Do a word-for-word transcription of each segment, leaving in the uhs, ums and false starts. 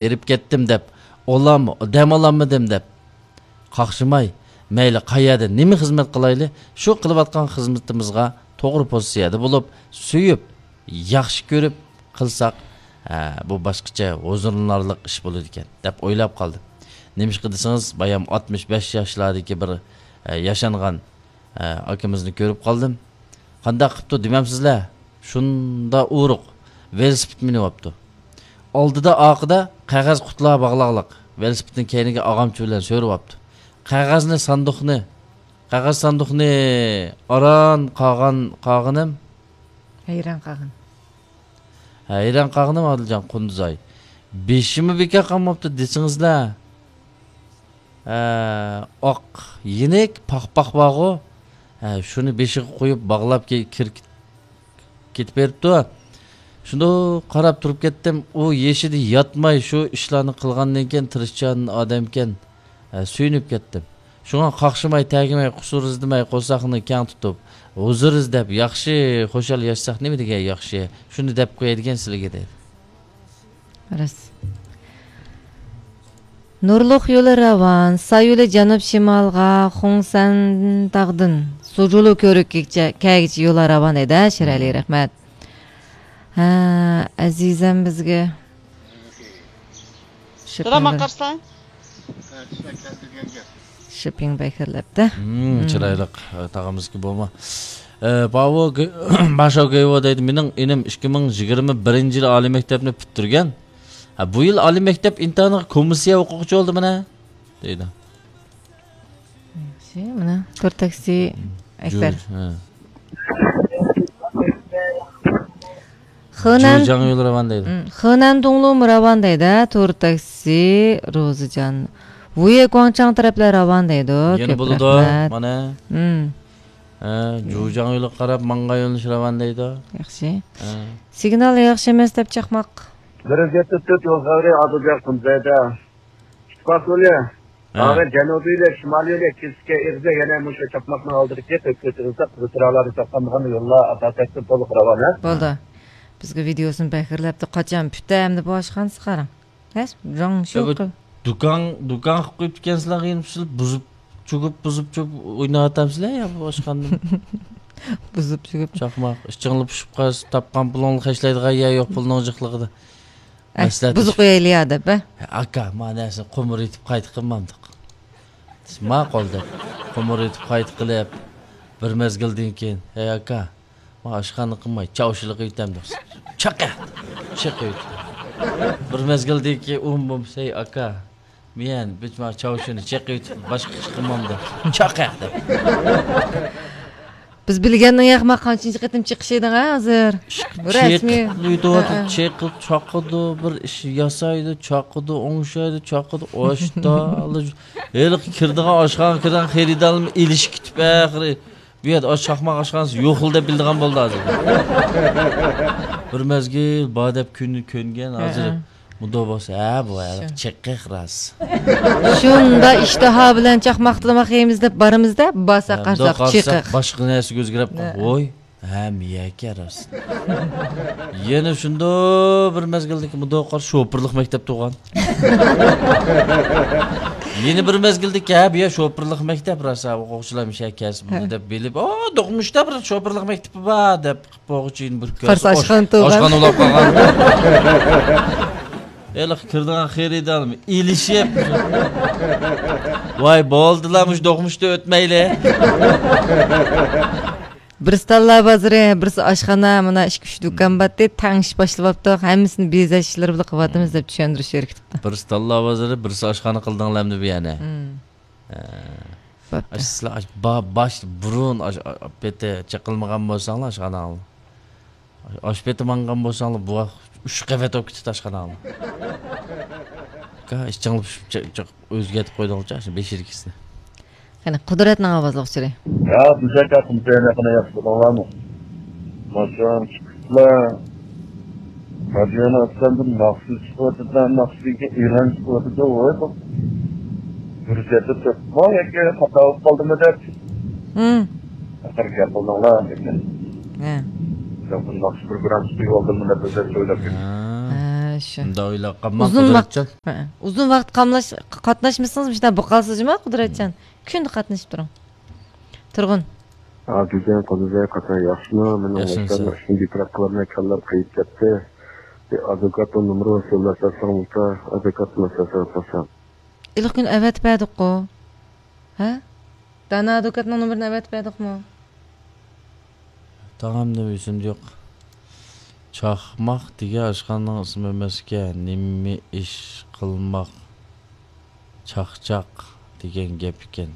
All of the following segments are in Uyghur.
ھېرىپ كەتتىم دەپ، ئولام-، دەم ئالالمىدىم دەپ قاقشىماي، مەيلى قەيەردە نېمە خىزمەت قىلايلى، شۇ قىلىۋاتقان خىزمىتىمىزغا توغرا پوزىتسىيەدە بولۇپ، سۆيۈپ، ياخشى كۆرۈپ قىلساق، ھە، بۇ باشقىچە ھۇزۇرلىنارلىق ئىش بولىدىكەن، دەپ ئويلاپ قالدىم. نېمىشقا دېسىڭىز، بايام ئاتمىش بەش ياشلاردىكى بىر، ھە، ياشانغان، ھە، ئاكىمىزنى كۆرۈپ قالدىم. قانداق قىپتۇ دېمەمسىزلە؟ شۇندا ئورۇق، ۋېلىسىپىت مىنىۋاپتۇ. ئالدىدا، ئارقىدا قەغەز قۇتىلار باغلاغلىق، ۋېلىسىپىتنى كەينىگە ئاغامچا بىلەن سۆرىۋاپتۇ. قەغەزنى ساندۇقنى، قەغەز ساندۇقنى ئاران قاغان قاغىنىم. ھەيران قالغىن. ھەيران قالغىنىم ئادىلجان قۇندۇزاي. بېشىمۇ بىكار قالماپتۇ دېسىڭىزلە. ھە، ئاق يېنىك پاخپاق بارغۇ. ھە، شۇنى بېشىغا قويۇپ باغلاپ كى-، كىر-، كېتىپ بېرىپتۇ. شۇنداق قاراپ تۇرۇپ كەتتىم. ئۇ يېشىدا ياتماي شۇ ئىشلارنى قىلغاندىن كېيىن تىرىشچان ئادەمكەن. ھە، سۆيۈنۈپ كەتتىم. شۇڭا قاقشىماي، تەگمەي، قۇسۇر ئىزدىمەي، قورساقنى كەڭ تۇتۇپ، ھۇزۇر ئىزدەپ، ياخشى، خۇشال ياشىساق نېمە دېگەن ياخشى. شۇنى دەپ قوياي دېگەن سىلىگە دەيدۇ. راست. نۇرلۇق يولى راۋان، سايولى جەنۇب شىمالغا، خۇڭسەن تاغدىن سۇجۇلۇ كۆۋرۈككىچە، كەگىچە يولى راۋان دەيدۇ، شىرئەلى، رەھمەت. ھە، ئەزىزەم بىزگە دادا، ماڭا قارىساڭ. شىپىڭ بەكرىلەپتە. مم، چىرايلىق، ئە، تاغىمىزكى بولما. ئە، باۋۇ گې-، باشاۋ گېيۋو دەيدۇ، مېنىڭ ئىنىم ئىككى مىڭ يىگىرمە بىرىنچى يىلى ئالىي مەكتەپنى پۈتتۈرگەن. ھە، بۇ يىل ئالىي مەكتەپ ئىمتىھانىغا كومىسسىيە ئوقۇغۇچى بولدى مانا، دەيدۇ. ياخشى، مانا تور تاكسى ئەكبەر. جۇ-، ھە. خېنەن، جۇجاڭ يولى راۋان دەيدۇ. ھم، خېنەن دۇڭلۇمۇ راۋان دەيدۇ، ھە، تور تاكسى، روزىجان. ۋۇيې گۇاڭچاڭ تەرەپلەر راۋان دەيدۇ. يەنە كۆپ بولىدۇ، رەھمەت. مانا. ھم. ھە، جۇجاڭ يولىغا قاراپ ماڭغان يۆنىلىش راۋان دەيدۇ. ياخشى. ھە. سىگنال ياخشى ئەمەس دەپ چاقماق. بىر يۈز يەتتە تۆت يول خەۋىرى ئادىلجان قۇمزەيدە. ئىتتىپاق يولى. ھە. ئاغا جەنۇبىي يولى، شىمالىي يولى، كېسىككە ئېغىزى يەنە مۇشۇ چاقماقنىڭ ئالدىدىكى تۆت كۆچىرىلسە، قىزىل چىراغلاردا ساقلانغان يوللار ئاساسەن تولۇق راۋان، ھە؟ بولدى. بىزگە ۋىدېئوسىنى بەكرىلەپتۇ. قاچان پۈتتى ئەمدى بۇ ئاشخانىسى قاراڭ. ھە؟ جاڭ يا بۇ شۇ قىل. دۇكان، دۇكان قىلىپ قويۇپتىكەنسىلەر، يېنىپ سىلەر بۇزۇپ، چۆكۈپ، بۇزۇپ، چۆكۈپ ئويناۋاتامسىلەر يا بۇ ئاشخانىنى؟ بۇزۇپ، چۆكۈپ. چاقماق، ئىچىڭلار پۇشۇپ قالسا، تاپقان پۇلۇڭلار خەجلەيدىغان يەر يوق پۇلنىڭ جىقلىقىدا. ئەي، مەسلىھەت بۇزۇپ قويايلى يا دەپ، ھە؟ ئاكا، مانا نەرسىنى قومۇر ئېتىپ قايتا قىلمامدۇق. ماقۇل دەپ، قومۇر ئېتىپ قايتا قىلىپ، بىر مەزگىلدىن كېيىن، ھەي ئاكا، ما ئاشخانا قىلماي، چاۋشىلىق ئېتەمدۇق. چاقە! چېقىۋېتىپ. بىر مەزگىلدىن كېيىن ئۇم بولمىسا، ھەي ئاكا، مېيەن، بىز ما چاۋشىنى چېقىۋېتىپ، باشقا ئىش قىلمامدۇق. چاقە! دەپ. بىز بىلگەننىڭ ياقما قانچىنچى قېتىم چېقىشىدىڭ ھە ھازىر؟ رەسمىي. چېقىۋېتىۋاتىدۇ، ھە، ھە. چېقىپ چاقىدۇ، بىر ئىش ياسايدۇ، چاقىدۇ، ئوڭشايدۇ، چاقىدۇ، ئاشتا، ھېلىقى كىرىدىغان ئاشخانىغا كىرىدىغان خېرىدارلىرىمۇ ئېلىشىپ كېتىپ ئاخىرى بۇ يەردە ئاش-، چاقماق ئاشخانىسى يوقلا دەپ بىلىدىغان بولدى ھازىر. بىر مەزگىل بار دەپ كۆن-، كۆنگەن، ھە، ھازىر ھە. مۇنداق بولسا، ھە، بۇ ھە، شۇ. چېقىق راست. شۇندا ئىشتىھا بىلەن چاقماق تاماق يەيمىز دەپ بارىمىز-دە، بارساق ھە، قارىساق مۇنداق قارىساق چېقىق. باشقا نەرسىگە ئۆزگىرەپ قالغان. ھە. ۋوي، ھە، مىيەكە راست. يەنە شۇنداق بىر مەزگىلدىكى مۇنداق قار شوپۇرلۇق مەكتەپ تۇغان. يەنە بىر مەزگىلدىكى، ھە، بۇ يەر شوپۇرلۇق مەكتەپ راست، ھە، ئوقۇغۇچىلار مۇشۇ يەر كەلسە بولدى ھە. دەپ بىلىپ، ئا، دوقمۇشتا بىر شوپۇرلۇق مەكتىپى بار دەپ. بوغۇچىنى بىر كۆرسە، قارىسا ئاش-، ئاشخانا تۇغان. ئاشخانا بولاپ قالغان. ھېلىقى كىرىدىغان خېرىدارمۇ ئېلىشىپ. ۋاي، بولدىلا، مۇشۇ دوقمۇشتا ئۆتمەيلى. بىرسى تاللا بازىرى، بىرسى ئاشخانا، مانا ئىككى، ئۈچ دۇكان بارتى، تەڭ ئىش باشلىۋاپتۇق، ھەممىسىنى بېزەش ئىشلىرى بىلەن قىلىۋاتىمىز دەپ چۈشەندۈرۈش بېرىپتۇ. بىرسى تاللا بازىرى، بىرسى ئاشخانا قىلدىڭلارمۇ بۇ يەرنى؟ مم. ھە. بوپتۇ. ئاش-، سىلەر ئاش-، با-، باش بۇرۇن ئاش-، ئا-، پېتى چېقىلمىغان بولساڭلار ئاشخاناڭلار. ئاش پېتى ماڭغان بولساڭلار، بۇ ۋاق ئۈچ قەۋەت بولۇپ كېتىدۇ ئاشخاناڭلار. ئاكا، ئىچىڭلار پىشىپ چە-، چە-، ئۆزگەرتىپ قويدۇڭلارچۇ، ئاشۇ بېشىدىكىسىنى. قېنى، قۇدرەتنىڭ ئاۋازلىق ئۇچۇرى. يا، بىزدەك قۇمسەينى قېنى ياخشى بولدۇڭلارمۇ؟ ماشۇ چىقىشلار. رادىيونى ئاچسام، بىر ناخشا چىقىۋاتىدۇ، ناخشىدىن كېيىن ئېلان چىقىۋاتىدۇ، ۋاي، بۇ. بىر يەردە تۇرۇپمۇ ياكى خاتا بولۇپ قالدىمۇ دەپ. ھىم. ئاخىر گەپ قىلدىڭلار، لېكىن. ھە. ياق، بۇ ناخشا پروگراممىسى قويۇۋالدىممۇ دەپ ئۆزلەرچە ئويلاپ كەتتىم. ھە. ھە، شۇ. شۇنداق ئويلاپ قالماڭ، ئۇزۇن ۋاق-، قۇدرەتجان. ھە، ئۇزۇن ۋاقىت قاملاش-، قاتناشمىسىڭىز، مۇشۇنداق بولۇپ قالىسىز جۇما، قۇدرەتجان. كۈندە قاتنىشىپ تۇرۇڭ. تۇرغۇن. ھە، گۈلجان، قۇدرەتجان، قاچان ياخشىمۇ؟ مېنىڭ ياخشىمۇ ياشلارنىڭ سەن؟ ئىشىنى بىكار قىلالماي كاللام قېيىپ كەتتى. بىر ئادۋوكاتنىڭ نومۇرىنى سۆزلەپ بەرسەڭ بولسا، ئادۋوكاتنى سۆزلەپ بەرسەڭ. ھېلىقى كۈنى ئەۋەتىپ بەردۇققۇ. ھە؟ دانا ئادۋوكاتنىڭ نومۇرىنى ئەۋەتىپ بەردۇقمۇ؟ تاغام نېمە ئېسىمدە يوق. چاقماق دېگەن ئاشخانىنىڭ ئىسمى ئەمەسكەن. نېمە ئىش قىلماق؟ چاقچاق دېگەن گەپ ئىكەن.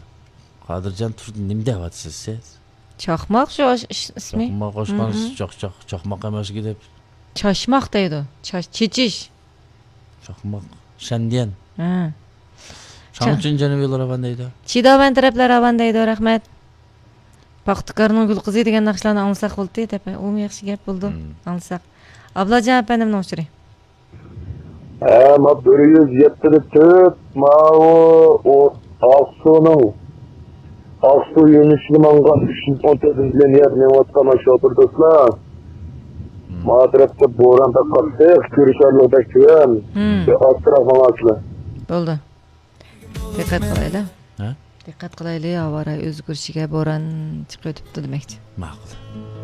قادىرجان تۇردى، نېمە دەۋاتىسىز سىز؟ چاقماق شۇ ئىش-، ئىسمى. چاقماق ئاشخانىسى، مم. چاقچاق، چاقماق ئەمەسكى دەپ. چاچماق دەيدۇ. چاچ-، چېچىش. چاقماق. شەنديەن. ھە. شاڭچىن جەنۇبىي يوللار راۋان دەيدۇ. چىداۋەن تەرەپلەر راۋان دەيدۇ، رەھمەت. پاختىكارنىڭ گۈل قىزى دېگەن ناخشىلارنى ئاڭلىساق بولدى، دەپ. ئۇمۇ ياخشى گەپ بولىدۇ، مم. ئاڭلىساق. ئابلاجان ئەپەندىمنىڭ ئۇچۇرى. ھە، ما بىر يۈز يەتتە تۆت، ماۋۇ، ئۇ، ئاقسۇنىڭ، ئاقسۇ يۆنىلىشىدە ماڭغان ئۈچ يۈز ئون تۆتىنچى لىنىيەدە مېڭىۋاتقان ما شوپۇر دوستلار. مم. ما تەرەپتە بوران بەك قاتتىق، كۆرۈشەرلىك بەك تۆۋەن. مم. بىر ئاستىراق ماڭارسىلەر. بولدى. دىققەت قىلايلى. ھە؟ دىققەت قىلايلى، ھاۋا رايى ئۆزگىرىشىگە، بوران چىقىۋېتىپتۇ دېمەكچى. ماقۇل.